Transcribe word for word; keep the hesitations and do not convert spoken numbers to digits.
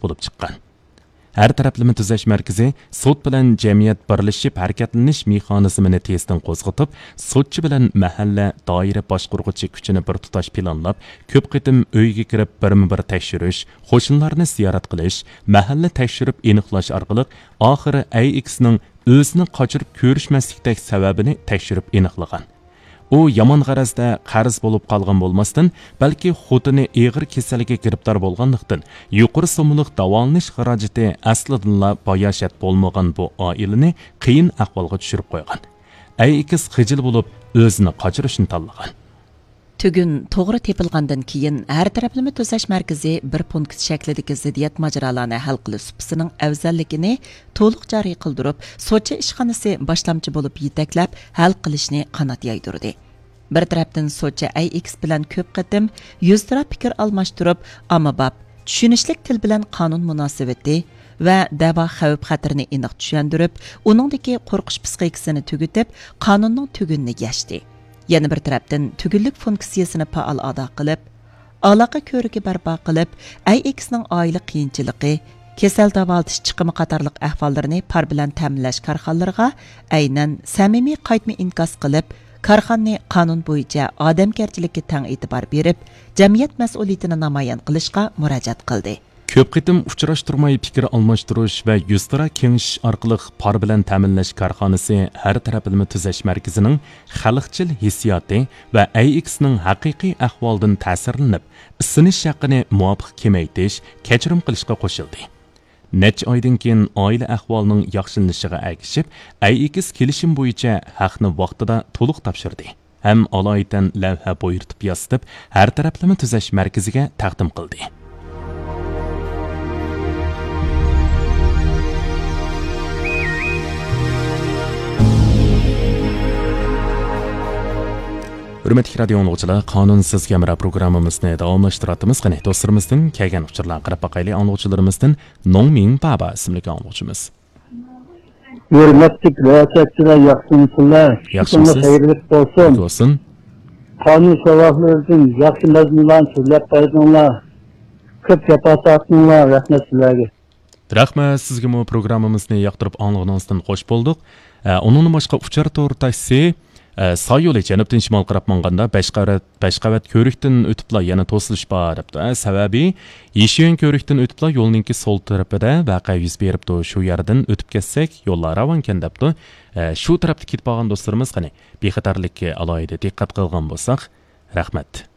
بولۇپ چىققان. ھەر تەرەپلىمە تۈزەش مەركىزى سوت بىلەن جەمئىيەت بىرلىشىپ ھەرىكەتلىنىش مېخانىزمىنى تېزدىن قوزغىتىپ، سوتچى بىلەن مەھەللە، دائىرە باشقۇرغۇچى كۈچىنى بىر تۇتاش پىلانلاپ، كۆپ قېتىم ئۆيگە كىرىپ بىرمۇ بىر تەكشۈرۈش، قوشنىلارنى زىيارەت قىلىش، مەھەللە تەكشۈرۈپ ئېنىقلاش ئارقىلىق ئاخىرى ئەي ئېكسنىڭ ئۆزىنى قاچۇرۇپ كۆرۈشمەسلىكتەك سەۋەبىنى تەكشۈرۈپ ئېنىقلىغان. ئۇ يامان غەرەزدە قەرز بولۇپ قالغان بولماستىن، بەلكى خوتۇنى ئېغىر كېسەلگە گىرىپتار بولغانلىقتىن، يۇقىرى سوممىلىق داۋالىنىش خىراجىتى ئەسلىدىنلا باياشات بولمىغان بۇ ئائىلىنى قىيىن ئەھۋالغا چۈشۈرۈپ قويغان. ئەي ئېكس خىجىل بولۇپ، ئۆزىنى قاچۇرۇشنى تاللىغان. تۈگۈن توغرا تېپىلغاندىن كېيىن، ھەر تەرەپلىمە تۈزەش مەركىزى بىر پونكىت شەكلىدىكى زىددىيەت ماجىرالارنى ھەل قىلىش سۇپىسىنىڭ ئەۋزەللىكىنى تولۇق جارى قىلدۇرۇپ، سوتچى ئىشخانىسى باشلامچى بولۇپ يېتەكلەپ، ھەل قىلىشنى قانات يايدۇردى. بىر تەرەپتىن سوتچى ئەي ئېكس بىلەن كۆپ قېتىم يۈزتۇرا پىكىر ئالماشتۇرۇپ، ئاممىباب، چۈشىنىشلىك تىل بىلەن قانۇن مۇناسىۋىتى ۋە دەۋا خەۋپ-خەتىرىنى ئېنىق چۈشەندۈرۈپ، ئۇنىڭدىكى قورقۇش پىسخىكىسىنى تۈگىتىپ، قانۇننىڭ تۈگۈنىنى يەشتى. يەنە بىر تەرەپتىن، تۈگۈنلۈك فۇنكسىيەسىنى پائال ئادا قىلىپ، ئالاقە كۆۋرۈكى بەرپا قىلىپ، ئەي ئېكسنىڭ ئائىلە قىيىنچىلىقى، كېسەل داۋالىتىش چىقىمى قاتارلىق ئەھۋاللىرىنى پار بىلەن تەمىنلەش كارخانىلىرىغا ئەينەن سەمىمىي قايتما ئىنكاس قىلىپ، كارخانىنى قانۇن بويىچە ئادەمگەرچىلىككە تەڭ ئېتىبار بېرىپ، جەمئىيەت مەسئۇلىيىتىنى نامايان قىلىشقا مۇراجىئەت قىلدى. كۆپ قېتىم ئۇچراشتۇرماي پىكىر ئالماشتۇرۇش ۋە يۈزتۇرا كېڭىشىش ئارقىلىق پار بىلەن تەمىنلەش كارخانىسى ھەر تەرەپلىمە تۈزەش مەركىزىنىڭ خەلقچىل ھېسسىياتى ۋە ئەي ئېكسنىڭ ھەقىقىي ئەھۋالىدىن تەسىرلىنىپ، ئىسىنىش ھەققىنى مۇۋاپىق كېمەيتىش، كەچۈرۈم قىلىشقا قوشۇلدى. نەچچە ئايدىن كېيىن ئائىلە ئەھۋالىنىڭ ياخشىلىنىشىغا ئەگىشىپ، ئەي ئېكس كېلىشىم بويىچە ھەقنى ۋاقتىدا تولۇق تاپشۇردى ھەم ئالايىتەن لەۋھە بۇيرۇتۇپ ياسىتىپ، ھەر تەرەپلىمە تۈزەش مەركىزىگە تەقدىم قىلدى. ھۆرمەتلىك رادىيو ئاڭلىغۇچىلار، قانۇن سىزگە ھەمراھ پروگراممىمىزنى داۋاملاشتۇراتتىمىز. قېنى، دوستلىرىمىزدىن كەلگەن ئۇچۇرلارغا قاراپ باقايلى. ئاڭلىغۇچىلىرىمىزدىن نوڭمىڭ بابا ئىسىملىك ئاڭلىغۇچىمىز. ھۆرمەتلىك رىياسەتچىلەر، ياخشىمۇسىلەر؟ ياخشىمۇسىز؟ كۈنىڭىز خەيرلىك بولسۇن. بولسۇن. قانۇن سوراقلىرىدىن ياخشى مەزمۇنلارنى سۆزلەپ بەردىڭلار. كۆپ جاپا تارتتىڭلار، رەھمەت سىلەرگە. رەھمەت سىزگىمۇ، پروگراممىمىزنى ياقتۇرۇپ ئاڭلىغىنىڭىزدىن خوش بولدۇق. ئە، ئۇنىڭدىن باشقا ئۇچار تور تاكسى، ئە، سايولى جەنۇبتىن شىمال قاراپ ماڭغاندا بەش قەۋەت، بەش قەۋەت كۆۋرۈكتىن ئۆتۈپلا يەنە توسۇلۇش بار دەپتۇ. ئە، سەۋەبى يىشۈەن كۆۋرۈكتىن ئۆتۈپلا يولنىڭكى سول تەرىپىدە ۋەقە يۈز بېرىپتۇ. شۇ يەردىن ئۆتۈپ كەتسەك يوللار راۋانكەن دەپتۇ. ئە، شۇ تەرەپتە كېتىپ بارغان دوستلىرىمىز قېنى بىخەتەرلىككە ئالاھىدە دىققەت قىلغان بولساق، رەھمەت.